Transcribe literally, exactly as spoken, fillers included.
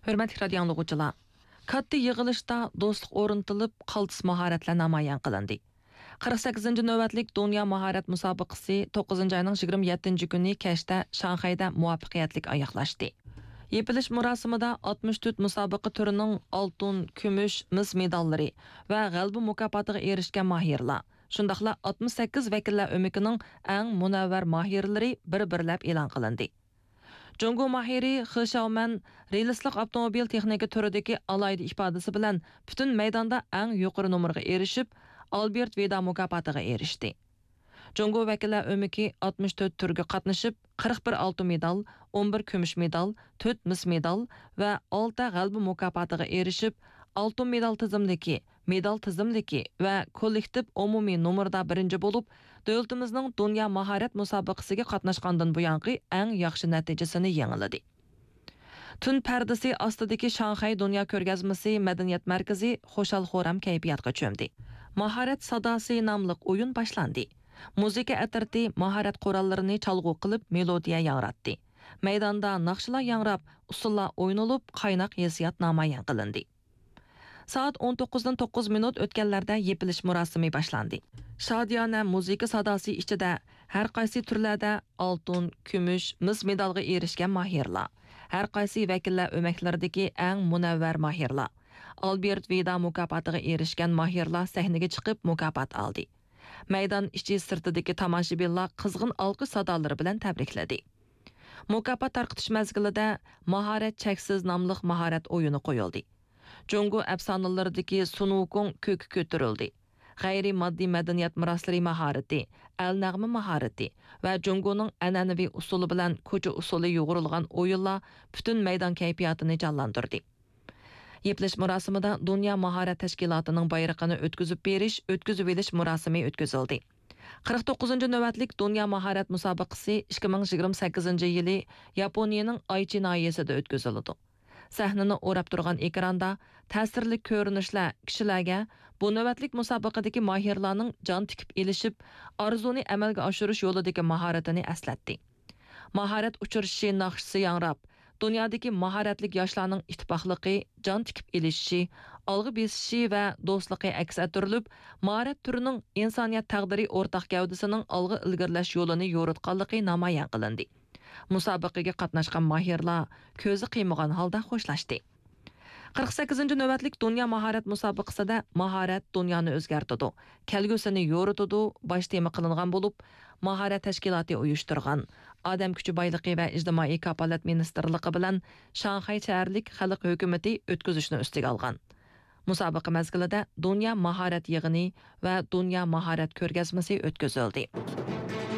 ھۆرمەتلىك رادىيو ئاڭلىغۇچىلار، كاتتا يىغىلىشتا دوستلۇق ئورنىتىلىپ، قالتىس ماھارەتلەر نامايان قىلىندى. قىرىق سەككىزىنچى نۆۋەتلىك دۇنيا ماھارەت مۇسابىقىسى توققۇزىنچى ئاينىڭ يىگىرمە يەتتىنچى كۈنى كەچتە شاڭخەيدە مۇۋەپپەقىيەتلىك ئاياغلاشتى. يېپىلىش مۇراسىمىدا ئاتمىش تۆت مۇسابىقە تۈرىنىڭ ئالتۇن، كۈمۈش، مىس مېداللىرى ۋە غەلىبە مۇكاپاتىغا ئېرىشكەن ماھىرلار، شۇنداقلا ئاتمىش سەككىز ۋەكىللەر ئۆمىكىنىڭ ئەڭ مۇنەۋۋەر ماھىرلىرى بىر-بىرلەپ ئېلان قىلىندى. جۇڭگو ماھىرى خې شياۋمەن رېلىسلىق ئاپتوموبىل تېخنىكا تۈرىدىكى ئالاھىدە ئىپادىسى بىلەن پۈتۈن مەيداندا ئەڭ يۇقىرى نومۇرغا ئېرىشىپ، ئالبېرت ۋىدا مۇكاپاتىغا ئېرىشتى. جۇڭگو ۋەكىللەر ئۆمىكى ئاتمىش تۆت تۈرگە قاتنىشىپ، قىرىق بىر ئالتۇن مېدال، ئون بىر كۈمۈش مېدال، تۆت مىس مېدال ۋە ئالتە غەلىبە مۇكاپاتىغا ئېرىشىپ، ئالتۇن مېدال تىزىملىكى، مېدال تىزىملىكى ۋە كوللېكتىپ ئومۇمىي نومۇردا بىرىنچى بولۇپ، دۆلىتىمىزنىڭ دۇنيا ماھارەت مۇسابىقىسىگە قاتناشقاندىن بۇيانقى ئەڭ ياخشى نەتىجىسىنى يېڭىلىدى. تۈن پەردىسى ئاستىدىكى شاڭخەي دۇنيا كۆرگەزمىسى مەدەنىيەت مەركىزى خۇشال-خۇرام كەيپىياتقا چۆمدى. ماھارەت ساداسى ناملىق ئويۇن باشلاندى. مۇزىكا ئەترىتى ماھارەت قوراللىرىنى چالغۇ قىلىپ، مېلودىيە ياڭراتتى. مەيداندا ناخشىلار ياڭراپ، ئۇسسۇللار ئوينىلىپ، قايناق ھېسسىيات نامايان قىلىندى. سائەت ئون توققۇزدىن توققۇز مىنۇت ئۆتكەنلەردە يېپىلىش مۇراسىمى باشلاندى. شادىيانە مۇزىكا ساداسى ئىچىدە ھەر قايسى تۈرلەردە ئالتۇن، كۈمۈش، مىس مېدالغا ئېرىشكەن ماھىرلار، ھەر قايسى ۋەكىللەر ئۆمەكلىرىدىكى ئەڭ مۇنەۋۋەر ماھىرلار، ئالبېرت ۋىدا مۇكاپاتىغا ئېرىشكەن ماھىرلار سەھنىگە چىقىپ مۇكاپات ئالدى. مەيدان ئىچى سىرتىدىكى تاماشىبىنلار قىزغىن ئالقىش سادالىرى بىلەن تەبرىكلىدى. مۇكاپات تارقىتىش مەزگىلىدە ماھارەت چەكسىز ناملىق ماھارەت ئويۇنى قويۇلدى. جۇڭگو ئەپسانىلىرىدىكى سۇن ۋۇكۇڭ كۆككە كۆتۈرۈلدى. غەيرىي ماددىي مەدەنىيەت مىراسلىرى ماھارىتى، ئەل نەغمە ماھارىتى ۋە جۇڭگونىڭ ئەنئەنىۋى ئۇسسۇلى بىلەن كوچا ئۇسسۇلى يۇغۇرۇلغان ئويۇنلار پۈتۈن مەيدان كەيپىياتىنى جانلاندۇردى. يېپىلىش مۇراسىمىدا دۇنيا ماھارەت تەشكىلاتىنىڭ بايرىقىنى ئۆتكۈزۈپ بېرىش، ئۆتكۈزۈۋېلىش مۇراسىمى ئۆتكۈزۈلدى. قىرىق توققۇزىنچى نۆۋەتلىك دۇنيا ماھارەت مۇسابىقىسى ئىككى مىڭ يىگىرمە سەككىزىنچى يىلى ياپونىيىنىڭ ئايچى ناھىيەسىدە ئۆتكۈزۈلىدۇ. سەھنىنى ئوراپ تۇرغان ئېكراندا تەسىرلىك كۆرۈنۈشلەر كىشىلەرگە بۇ نۆۋەتلىك مۇسابىقىدىكى ماھىرلارنىڭ جان تىكىپ ئېلىشىپ، ئارزۇنى ئەمەلگە ئاشۇرۇش يولىدىكى ماھارىتىنى ئەسلەتتى. ماھارەت ئۇچرىشىشى ناخشىسى ياڭراپ، دۇنيادىكى ماھارەتلىك ياشلارنىڭ ئىتتىپاقلىقى، جان تىكىپ ئېلىشىشى، ئالغا بېسىشى ۋە دوستلۇقى ئەكس ئەتتۈرۈلۈپ، ماھارەت تۈرىنىڭ ئىنسانىيەت تەقدىرى ئورتاق گەۋدىسىنىڭ ئالغا ئىلگىرىلەش يولىنى يورۇتقانلىقى نامايان قىلىندى. مۇسابىقىگە قاتناشقان ماھىرلار كۆزى قىيمىغان ھالدا خوشلاشتى. قىرىق سەككىزىنچى نۆۋەتلىك دۇنيا ماھارەت مۇسابىقىسىدە ماھارەت دۇنيانى ئۆزگەرتىدۇ، كەلگۈسىنى يورۇتىدۇ باش تېما قىلىنغان بولۇپ، ماھارەت تەشكىلاتى ئۇيۇشتۇرغان، ئادەم كۈچى بايلىقى ۋە ئىجتىمائىي كاپالەت مىنىستىرلىقى بىلەن شاڭخەي شەھەرلىك خەلق ھۆكۈمىتى ئۆتكۈزۈشنى ئۈستىگە ئالغان. مۇسابىقە مەزگىلىدە دۇنيا ماھارەت يىغىنى ۋە دۇنيا ماھارەت كۆرگەزمىسى ئۆتكۈزۈلدى.